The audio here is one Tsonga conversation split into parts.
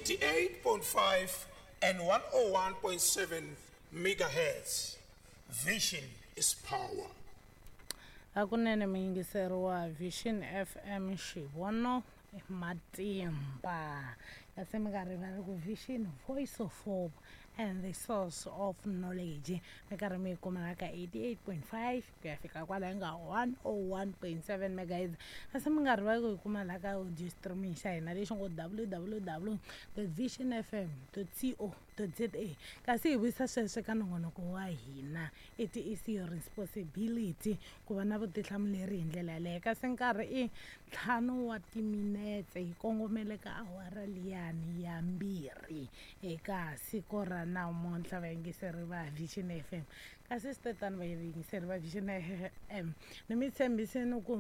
88.5 and 101.7 megahertz. Vision is power. Hakunene muyingiseri wa Vision FM xivono i matimba kasi mi nga rivali ku Vision Voice of Hope and the source of knowledge mi karhi mi yi kuma ka 88.5 ku ya fika kwala yi nga 101.7 megahertz kasi mi nga rivali ku yi kuma laha ka audio streaming xa hina lexi ngo www vision fm co za. Kasi hi vuyisa sweswo ka nongonoko wa hina, it is your responsibility ku va na vutihlamuleri hi ndlela yaleyo. Kasi nkarhi i ntlhanu wa timinetse hi kongomele ka awara liyani ya mbirhi eka siku ra namuntlha, vayingiseri va Vision FM. Kasi swi te tano, vayingiseri va Vision FM, ni mi tshembisini ku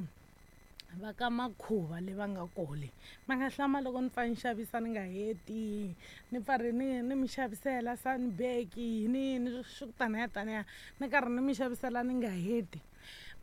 va ka makhuva le va nga kole va nga hlama loko ni pfa ni xavisa ni nga heti, ni pfa ri ni mi xavisela sunbag yini yini swi ku taniya taniya, ni karhi ni mi xavisela ni nga heti,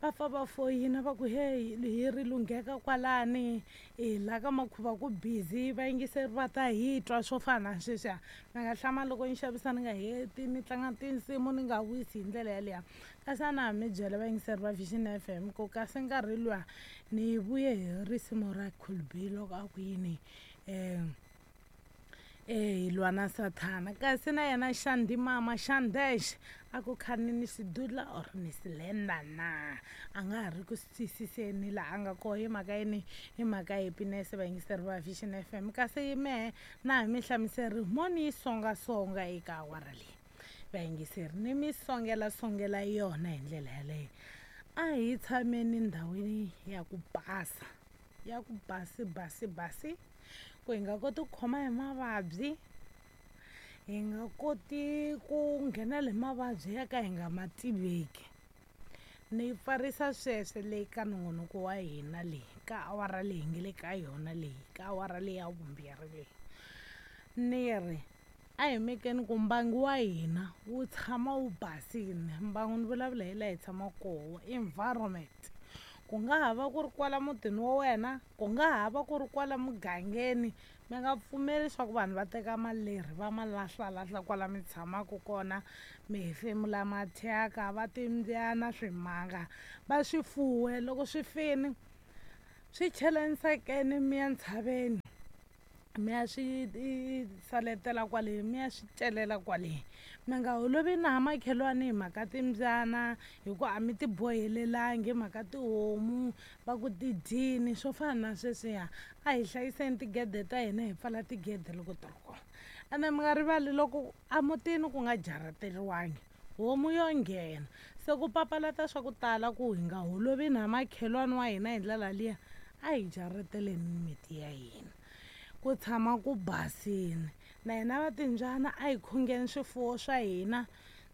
va pfa va foyina va ku heyi hi ri lungheka kwalani hi la ka makhuva ku busy, vayingiseri va ta hi twa swo fana na sweswiya. Mi nga hlama loko ni xavisa ni nga heti, ni tlanga tinsimu ni nga wisi hi ndlela yaliya. Kasi a na ha mi byela vayingiseri va Vision FM ku kasi nkarhi luwa ni vuye hi risimu ra Cool B loko a ku yini um hi lwa na sathana, kasi na yena Xandi mama Xandesh a ku khani ni xidudla or ni silenda na, a nga ha ri ku swi twisiseni laha a nga koho hi mhaka yini, hi mhaka happiness vayingiseri va Vision FM. Kasi mehe na ha mi hlamuseri mo ni yi songasonga eka awara leyi vayingiseri, ni mi songela songela yona hi ndlela yaleyo. A hi tshameni ndhawini ya ku basa, ya ku basi basi basi, ku hi nga koti ku khoma hi mavabyi, hi nga koti ku nghenela hi mavabyi ya ka hi nga ma tiveki. Ni pfarisa sweswo le ka nongonoko wa hina leyi ka awara leyi hi nge le ka yona leyi, ka awara leyi ya vumbirhi leyi, ni ri a hi mekeni ku mbangu wa hina wu tshama wu basile. Mbangu ni vulavula hi laha hi tshamaka koho, environment, ku nga ha va ku ri kwala mutini wa wena, ku nga ha va ku ri kwala mugangeni, mi nga pfumeli leswaku vanhu va teka malerhi va ma lahlalahla kwala mi tshamaka kona, mi hefemula mathyaka, va timbyana swimanga va swi fuwe, loko swi fini swi cheleni nsakeni mi ya ntshaveni mi ya swi saletela kwale, mi ya swi celela kwale. Mi nga holovi na makhelwani hi mhaka timbyana, hikuva a mi ti bohelelangi hi mhaka tihomu va ku ti dyini swo fana na sweswiya. A hi hlayiseni tigede ta hina, hi pfala tigede loko ti ri kona. Ene mi nga rivali loko emutini ku nga jarateriwangi homu yo nghena, se ku papalata swa ku tala ku hi nga holovi na makhelwani wa hina hi ndlela liya, a hi jarateleni miti ya hina ku tshama ku basini. Na hina va timbyana a hi khungeni swifuwo swa hina,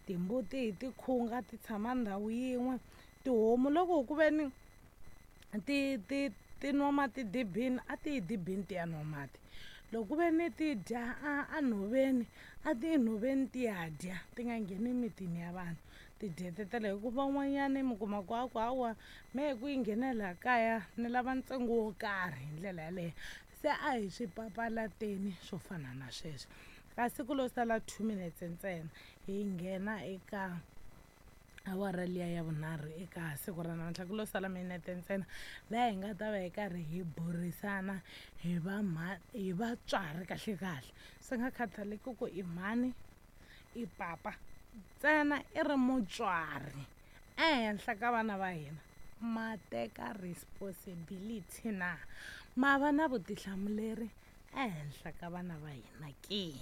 timbuti hi ti khunga ti tshama ndhawu yin'we, tihomu loko ku ve ni ti ti ti nwa mati dibini a ti yi dibini ti ya nwa mati, loko ku ve ni ti dya a nhoveni a ti yi nhoveni ti ya dya, ti nga ngheni emitini ya vanhu ti dyetetela. Hikuva van'wanyani mi kuma ku a ku hawa mehe ku yi nghena laha kaya ni lava ntsengo wo karhi hi ndlela yaleyo. Se a hi swi papalateni swo fana na sweswo. Kasi ku lo sala 2 minutes ntsena hi nghena eka awara liya ya vunharhu eka siku ra namuntlha, ku lo sala minete ntsena laha hi nga ta va hi karhi hi burisana hi va hi vatswari kahle kahle, swi nga khathaleki ku i mhani i papa, ntsena i ri mutswari ehenhla ka vana va hina, ma teka responsibility na, ma va na vutihlamuleri ehenhla ka vana va hina ke.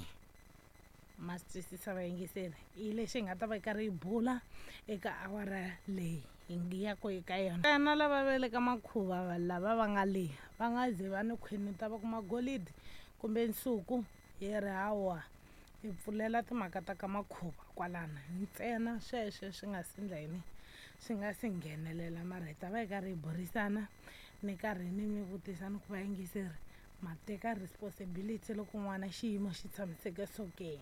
Ma swi twisisa vayingiseri, hi lexi hi nga ta va hi karhi hi bula eka awara leyi hi ngi ya ku eka yona. Ntsena lava va le ka makhuva lava va nga le va nga ze va ni khwinuta va kuma golidi kumbe nsuku, hi ri hawa hi pfulela timhaka ta ka makhuva kwalana ntsena, sweswo swi nga si ndla yini, swi nga si nghenelela. Mara hi ta va hi karhi hi burisana ni karhi ni mi vutisa ni ku vayingiseri ma teka responsibility loko n'wana xiyimo xi tshamiseke so ke.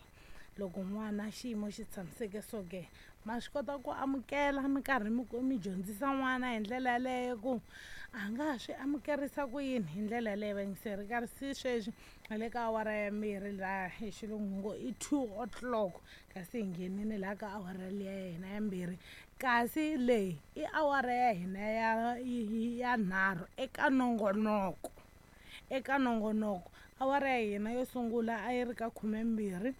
Loko n'wana xiyimo xi tshamiseke so ke, ma swi kota ku amukela mi karhi mi dyondzisa n'wana hi ndlela yaleyo ku a nga ha swi amukerisa ku yini hi ndlela yaleyo vayingiseri. Kasi sweswi hi le ka awara ya mbirhi, laha hi xilungu ngo i 2 o'clock, kasi hi nghenini laha ka awara liya ya hina ya mbirhi, kasi leyi i awara ya hina ya nharhu eka nongonoko. Eka nongonoko, awara ya hina yo sungula a yi ri ka 12,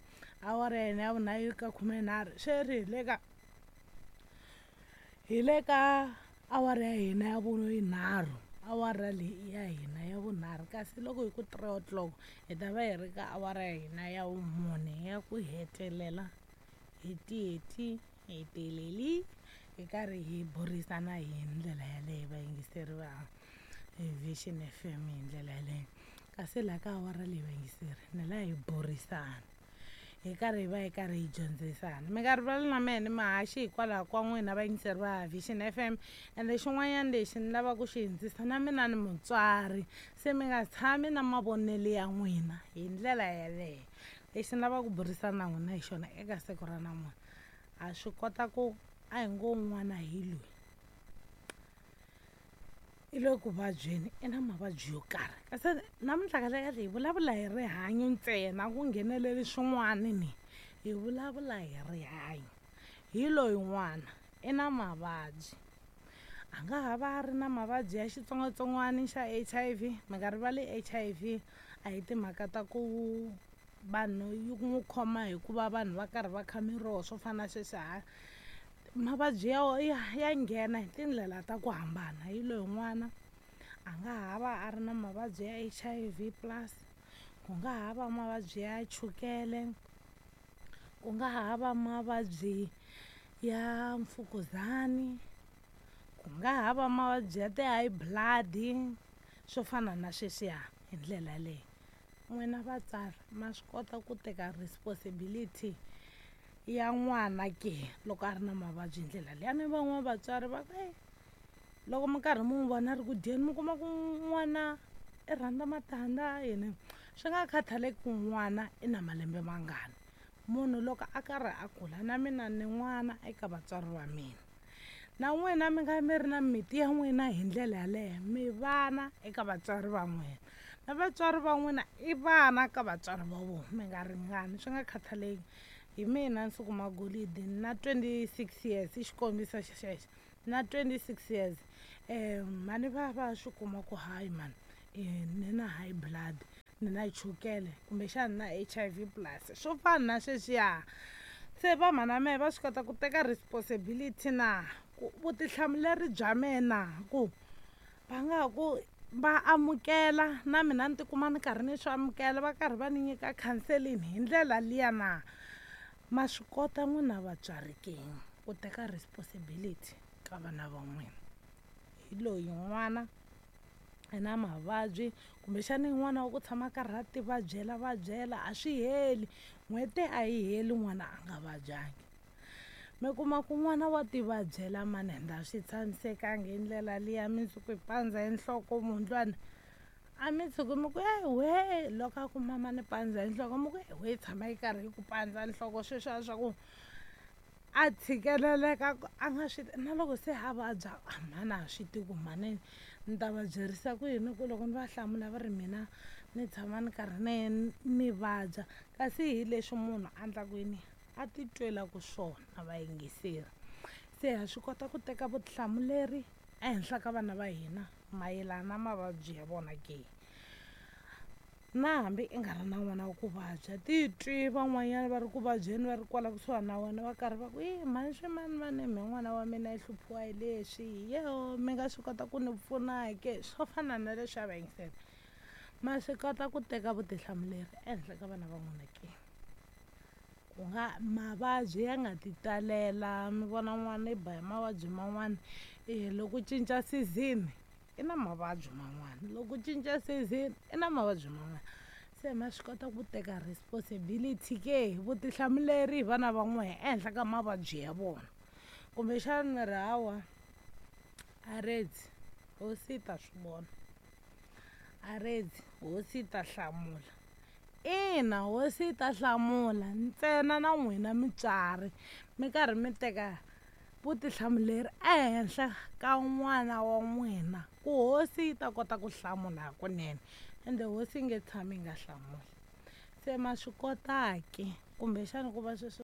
awara ya hina ya vunharhu yi ri ka 13, sweswi hi le ka awara ya hina ya vunharhu. Awara leyi ya hina ya vunharhu, kasi loko hi ku 3 o'clock hi ta va hi ri ka awara ya hina ya vumune ya ku hetelela, hi tiyeti hi teleli hi karhi hi burisana hi ndlela yaleyo, vayingiseri va Vision FM, hi ndlela yaleyo. Kasi laha ka awara leyi, vayingiseri, ni la hi burisana hi karhi hi va hi karhi hi dyondzisana. Mi nga rivali na mehe ni mahaxi hikwalaho ka n'wina, vayingiseri va Vision FM. Ende xin'wanyana lexi ni lavaka ku xi hindzisa, na mina ni mutswari, se mi nga tshami na mavonelo ya n'wina hi ndlela yaleyo. Lexi ni lavaka ku burisana na n'wina hi xona eka siku ra namuntlha, ha swi kota ku a hi ngo n'wana hi loyi i le ku vabyeni, i na mavabyi yo karhi, kasi namuntlha kahlekahle hi vulavula hi rihanyo ntsena, ku ngheneleli swin'wana, ni hi vulavula hi rihanyo. Hi loyi n'wana i na mavabyi, a nga ha va a ri na mavabyi ya xitsongwatsongwana xa HIV. Mi nga rivali, HIV a hi timhaka ta ku vanhu yi n'wi khoma hikuva vanhu va karhi va kha miroho swo fana na sweswi. Ha mavabyi ya nghena hi tindlela ta ku hambana. Hi loyi n'wana a nga ha va a ri na mavabyi ya HIV plus, ku nga ha va mavabyi ya chukele, ku nga ha va mavabyi ya mfukuzani, ku nga ha va mavabyi ya ti-high blood, swo fana na sweswiya hi ndlela yaleyo. N'wina vatswari ma swi kota ku teka responsibility ya n'wana ke loko a ri na mavabyi hi ndlela leyi? A ni van'wana vatswari va ku e loko mi karhi mi n'wi vona ri ku dyeni, mi kuma ku n'wana i rhandza matandza yini, swi nga khathaleki ku n'wana i na malembe mangani. Munhu loko a karhi a kula, na mina ni n'wana eka vatswari va mina, na n'wina mi nga mi ri na miti ya n'wina hi ndlela yaleyo, mi vana eka vatswari va n'wina, na vatswari va n'wina i vana ka vatswari va vona. Mi nga ringani, swi nga khathaleki. Hi mina Nsuku Magolidi na 26 years, i xikombiso xexo, na 26 years mhani va swi kuma ku hayi mani, ni na high blood, ni na chukele, kumbexana na HIV plus, swo fana na sweswiya. Se va mhana mehe va swi kota ku teka responsibility na ku vutihlamuleri bya mehe na ku va nga ku va amukela, na mina ni tikuma ni karhi ni swi amukela, va karhi va ni nyika counseling hi ndlela liya na? Ma swi kota n'wina vatswari ke ku teka responsibility ka vana va n'wina? Hi loyi n'wana i na mavabyi, kumbexana n'wana wa ku tshama a karhi a ti vabyela vabyela, a swi heli n'hweti, a yi heli n'wana a nga vabyangi. Mi kuma ku n'wana wa ti vabyela mani, ende a swi tshamisekangi hi ndlela liya. Mundzuku hi pandza hi nhloko, mundlwana a mi tshuki mi ku e we, loko a ku mama ni pandza hi nhloko, mi ku e we, tshama yi karhi yi ku pandza nhloko. Sweswiya swa ku a tshikeleleka a nga swi na loko se a vabya, a mhani a swi tivi ku mhani ni ta va byerisa ku yini, ku loko ni va hlamula va ri mina ni tshama ni karhi ni vabya, kasi hi leswi munhu a endlaku yini, a ti twelaku swona. Vayingiseri, se ha swi kota ku teka vutihlamuleri ehenhla ka vana va hina mayelana na mavabyi ya vona ke? Na hambi i nga ri na n'wana wa ku vabya, titwi van'wanyana va ri ku vabyeni, va ri kwala kusuhani na wena, va karhi va ku i mhani swi mani mani, me n'wana wa mina i hluphiwa hi leswi, yeho, mi nga swi kota ku ni pfuna ke? Swo fana na leswi a vayingisela, ma swi kota ku teka vutihlamuleri ehenhla ka vana va n'wina ke? Ku nga mavabyi ya nga ti talela, mi vona n'wana i ba hi mavabyi man'wana e loko cinca season, i na mavabyi man'wana, loko cinca season i na mavabyi man'wana. Se ma swi kota ku teka responsibility ke, vutihlamuleri hi vana va n'wehe ehenhla ka mavabyi ya vona? Kumbexana mi ri hawa a redzi, hosi yi ta swi vona, a redzi, hosi yi ta hlamula. Ina hosi yi ta hlamula ntsena na n'wina mutswari mi karhi mi teka vutihlamuleri ehenhla ka n'wana wa n'wina ku hosi yi ta kota ku hlamula hakunene ende hosi yi nge tshami yi nga hlamuli se ma swi kota ke kumbexana ku va sweswo.